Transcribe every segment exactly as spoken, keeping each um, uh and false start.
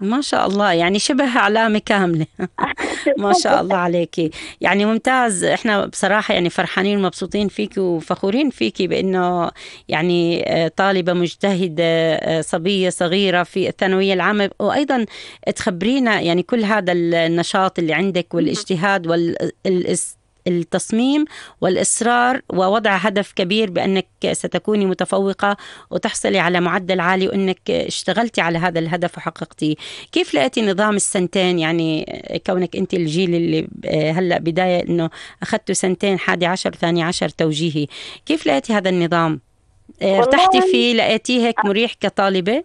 ما شاء الله، يعني شبه علامة كاملة. ما شاء الله عليكي، يعني ممتاز. احنا بصراحة يعني فرحانين ومبسوطين فيكي وفخورين فيكي بأنه يعني آه، طالبة مجتهدة، آه، صبية صغيرة في الثانوية العامة، وأيضا تخبرينا يعني كل هذا النشاط اللي عندك والاجتهاد والتصميم والإصرار ووضع هدف كبير بأنك ستكوني متفوقة وتحصلي على معدل عالي، وأنك اشتغلتي على هذا الهدف وحققتيه. كيف لقيتي نظام السنتين؟ يعني كونك أنت الجيل اللي هلأ بداية أنه أخذتوا سنتين، حادي عشر ثاني عشر توجيهي، كيف لقيتي هذا النظام؟ ارتحتي والله فيه؟ لقيتيه هيك مريح كطالبة؟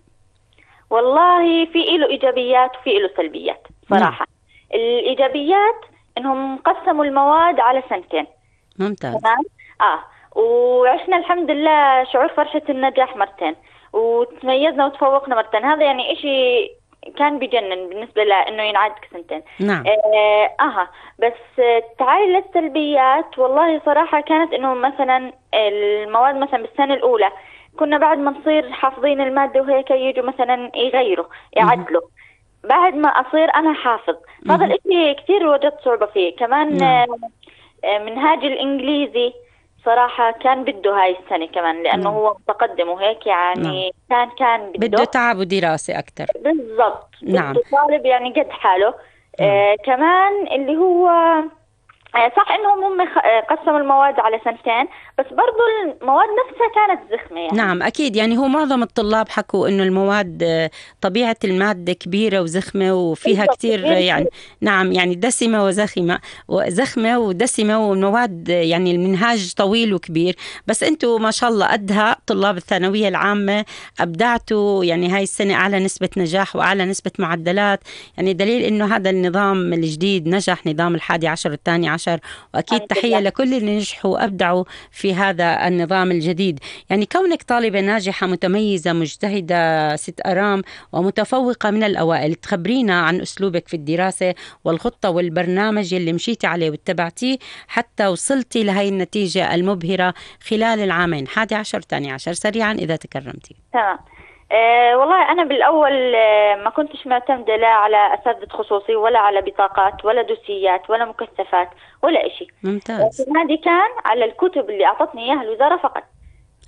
والله في له إيجابيات وفي له سلبيات نعم. صراحة. الإيجابيات إنهم قسموا المواد على سنتين. ممتاز. تمام. آه وعشنا الحمد لله شعور فرحة النجاح مرتين، وتميزنا وتفوقنا مرتين. هذا يعني إشي كان بجنن بالنسبة لأنه ينعاد سنتين. نعم. آه, آه بس آه، تعالي للسلبيات. والله صراحة كانت إنه مثلا المواد مثلا بالسنة الأولى كنا بعد ما نصير حافظين المادة وهيك يجوا مثلا يغيروا يعدلوا بعد ما أصير أنا حافظ. هذا الإشي كتير وجدت صعوبة فيه. كمان نعم. آه، منهاج الإنجليزي صراحة كان بده هاي السنة كمان لأنه نعم. هو متقدم وهيك يعني كان كان بده بده تعب ودراسة أكتر. بالضبط. نعم. بده طالب يعني قد حاله. نعم. آه كمان اللي هو آه، صح انهم هم خ- آه، قسموا المواد على سنتين، بس برضو المواد نفسها كانت زخمة يعني. نعم أكيد، يعني هو معظم الطلاب حكوا إنه المواد آه، طبيعة المادة كبيرة وزخمة وفيها بالضبط كتير آه، كبير يعني كتير. نعم، يعني دسمة وزخمة وزخمة ودسمة، والمواد آه، يعني المنهاج طويل وكبير. بس أنتوا ما شاء الله قدها طلاب الثانوية العامة أبدعتوا، يعني هاي السنة أعلى نسبة نجاح وأعلى نسبة معدلات، يعني دليل إنه هذا النظام الجديد نجح، نظام الحادي عشر والثاني عشر. وأكيد الحمد تحية لله. لكل اللي نجحوا وأبدعوا في هذا النظام الجديد. يعني كونك طالبة ناجحة متميزة مجتهدة ست أرام ومتفوقة من الأوائل، تخبرينا عن أسلوبك في الدراسة والخطة والبرنامج اللي مشيتي عليه واتبعتيه حتى وصلتي لهي النتيجة المبهرة خلال العامين حادي عشر ثاني عشر، سريعا إذا تكرمتي. تمام. أه والله أنا بالأول أه ما كنتش معتمدة لا على أساتذة خصوصي ولا على بطاقات ولا دوسيات ولا مكثفات ولا إشي. ممتاز. اعتمادي كان على الكتب اللي أعطتني إياها الوزارة فقط.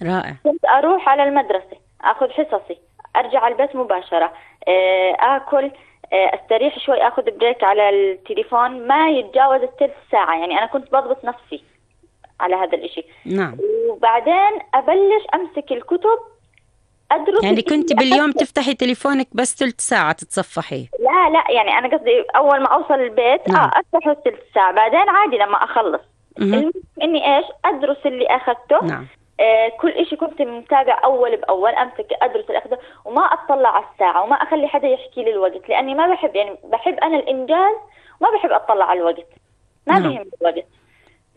رائع. كنت أروح على المدرسة أخذ حصصي أرجع على البيت مباشرة. أه آكل أه أستريح شوي أخذ بريك على التليفون ما يتجاوز الثلث ساعة. يعني أنا كنت بضبط نفسي على هذا الإشي. نعم. وبعدين أبلش أمسك الكتب أدرس. يعني كنت باليوم تفتحي تليفونك بس ثلث ساعة تتصفحي؟ لا لا يعني أنا قصدي أول ما أوصل البيت نعم. آه أفتحه ثلث ساعة بعدين عادي لما أخلص. مهم. المهم إني إيش أدرس اللي أخذته. نعم. آه كل إشي كنت متابع أول بأول أمسك أدرس اللي أخذه وما أطلع على الساعة وما أخلي حدا يحكي لي الوقت لأني ما بحب يعني بحب أنا الإنجاز وما بحب أطلع على الوقت ما نعم. بهم الوقت.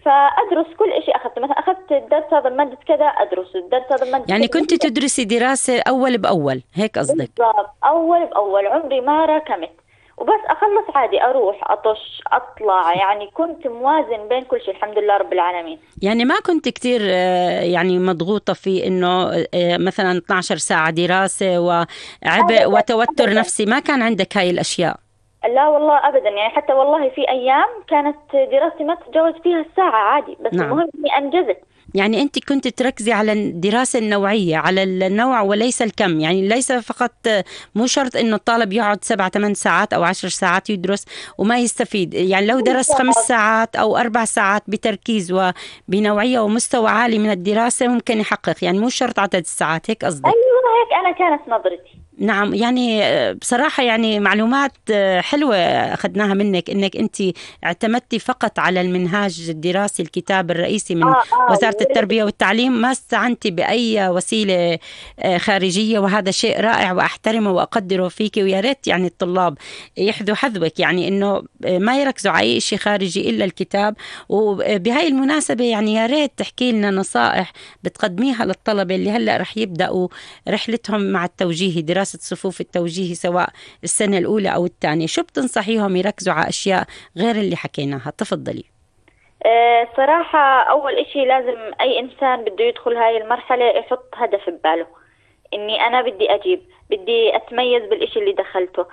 فأدرس كل إشي أخذته. مثلا أخذت الدرس هذا مادة كذا أدرس الدرس هذا مادة يعني كذا. كنت تدرسي دراسة أول بأول، هيك قصدك؟ بالضبط أول بأول عمري ما راكمت وبس أخلص عادي أروح أطش أطلع. يعني كنت موازن بين كل شيء الحمد لله رب العالمين. يعني ما كنت كتير آه، يعني مضغوطة في إنه آه، مثلا اثنتي عشرة ساعة دراسة وعبء أبدا وتوتر أبدا نفسي، ما كان عندك هاي الأشياء؟ لا والله أبدا. يعني حتى والله في أيام كانت دراستي ما تتجاوز فيها الساعة عادي بس نعم. المهم إني أنجزت. يعني أنت كنت تركزي على الدراسة النوعية، على النوع وليس الكم، يعني ليس فقط مو شرط إنه الطالب يقعد سبع ثمان ساعات أو عشر ساعات يدرس وما يستفيد. يعني لو درس خمس ساعات أو أربع ساعات بتركيز وبنوعية ومستوى عالي من الدراسة ممكن يحقق، يعني مو شرط عدد الساعات، هيك قصدك؟ أيوة هيك أنا كانت نظرتي. نعم. يعني بصراحة يعني معلومات حلوة أخذناها منك، إنك أنت اعتمدتي فقط على المنهاج الدراسي الكتاب الرئيسي من آه آه وزارة التربية والتعليم، ما استعنتي بأي وسيلة خارجية، وهذا شيء رائع وأحترمه وأقدره فيك. ويا ريت يعني الطلاب يحذوا حذوك، يعني إنه ما يركزوا على أي شيء خارجي إلا الكتاب. وبهاي المناسبة يعني يا ريت تحكي لنا نصائح بتقدميها للطلبة اللي هلأ رح يبدأوا رحلتهم مع التوجيه، دراسة صفوف التوجيه سواء السنة الأولى أو الثانية. شو بتنصحيهم يركزوا على أشياء غير اللي حكيناها؟ تفضلي. أه صراحة أول إشي لازم أي إنسان بده يدخل هاي المرحلة يحط هدف بباله إني أنا بدي أجيب بدي أتميز بالإشي اللي دخلته.